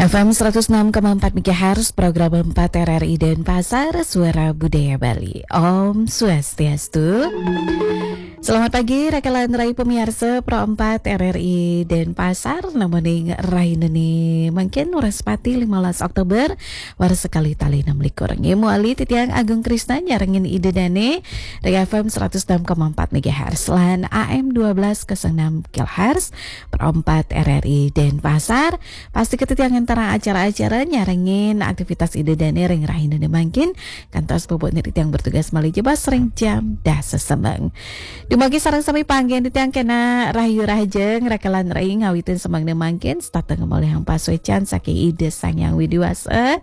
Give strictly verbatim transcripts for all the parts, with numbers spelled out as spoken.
F M seratus enam koma empat megahertz, program empat R R I Denpasar, Suara Budaya Bali. Om Swastiastu. Selamat pagi, rakalan rai pemirsa Pro empat R R I Denpasar, namoning rahinane mangkin Wrespati lima belas Oktober, warsa kalih tali enam likur. Nggih, muali titiang Agung Krisna nyarengin Ida Dane, ring F M seratus enam koma empat megahertz, lan A M dua belas kosong enam kilohertz, Pro empat R R I Denpasar. Pasti titiang ngenterang acara-acara nyarengin aktivitas Ida Dane ring rahinane mangkin, kantos puputne titiang bertugas malih jebos ring jam dasa semeng. Dumugi sareng sami panggen titiang kena rahayu rahajeng, rakalan rai ngawitin semengne mangkin, setata ngamolihang pasuecan saking Ida Sang Hyang Widi Wasa.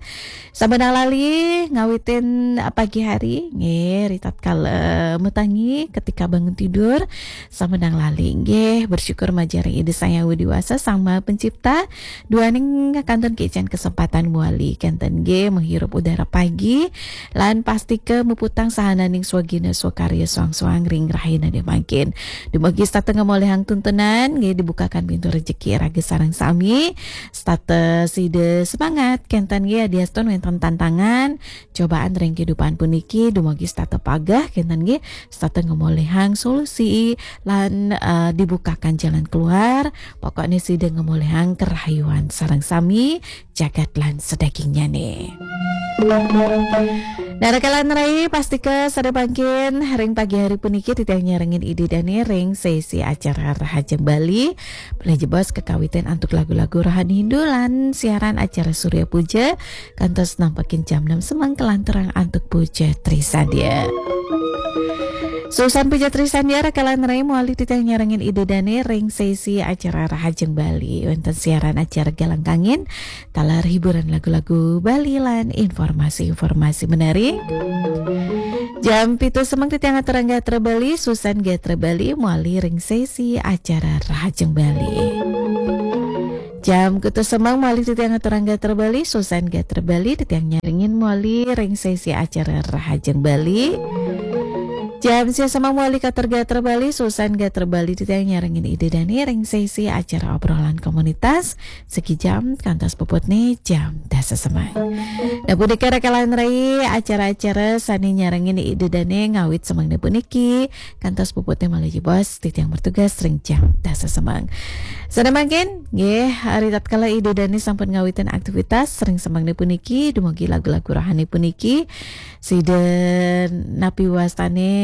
Samenang lali ngawitin pagi hari, nggih, ritatkala matangi, ketika bangun tidur, samenang lali, nggih, bersyukur majeng ring Ida Sang Hyang Widi Wasa, Sang Maha Pencipta, duaning kantun kicen kesempatan muali kenten, nggih, menghirup udara pagi, lan pastika muputang sahananing swagina swakarya soang-soang ring rahinane mangkin. Dumugi setata ngamolihang tuntunan, nggih, dibukakan pintu rejeki raga sareng sami, setata sida semangat kenten, nggih, adiastun wenten tantangan, cobaan ring kehidupan puniki, dumugi setata pageh kenten, nggih, setata ngamolihang solusi lan, eh, dibukakan jalan keluar. Pokokne sida ngamolihang kerahayuan sareng sami, jagat lan sadagingnyane. Nah, rakalan rai, pastika sida mangkin ring pagi hari puniki titiang nyarengin Ida Dane ring sesi acara Rahajeng Bali. Malih jebos kakawitin antuk lagu-lagu rohani Hindu lan siaran acara Surya Puja kantos nampekin jam enam semeng kalanturang antuk Puja Trisandya. Susan Puja Trisandya, rakalan rai, muali titiang nyarengin Ida Dane ring sesi acara Rahajeng Bali. Wenten siaran acara Galang Kangin, taler hiburan lagu-lagu Bali lan informasi-informasi menarik. Jam pitu semeng titiang aturang gatra Bali, Susan Gatra Bali, muali ring sesi acara Rahajeng Bali. Jam kutus semeng muali titiang aturang gatra Bali, Susan Gatra Bali, titiang nyarengin muali ring sesi acara Rahajeng Bali. Jam sia semeng muali katur gatra Bali, Susan Gatra Bali, titiang nyarengin Ida Dane ring sesi acara obrolan komunitas, segi jam kantos puputne jam dasa semeng. Nah, punika rakalan rai acara-acara sane nyarengin Ida Dane ngawit semengne puniki, kantos puputne malih jebos titiang bertugas ring jam dasa semeng. Sane mangkin, nggih, ritatkala Ida Dane sampun ngawitin aktivitas ring semengne puniki, dumugi lagu-lagu rohani puniki, sida napi wastane,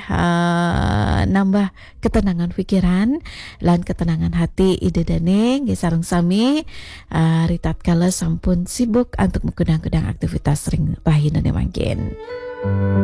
eh, nambah ketenangan pikiran lan ketenangan hati Ida Dane, nggih, sareng sami, eh, ritatkala sampun sibuk antuk makudang-kudang aktivitas ring rahinane mangkin.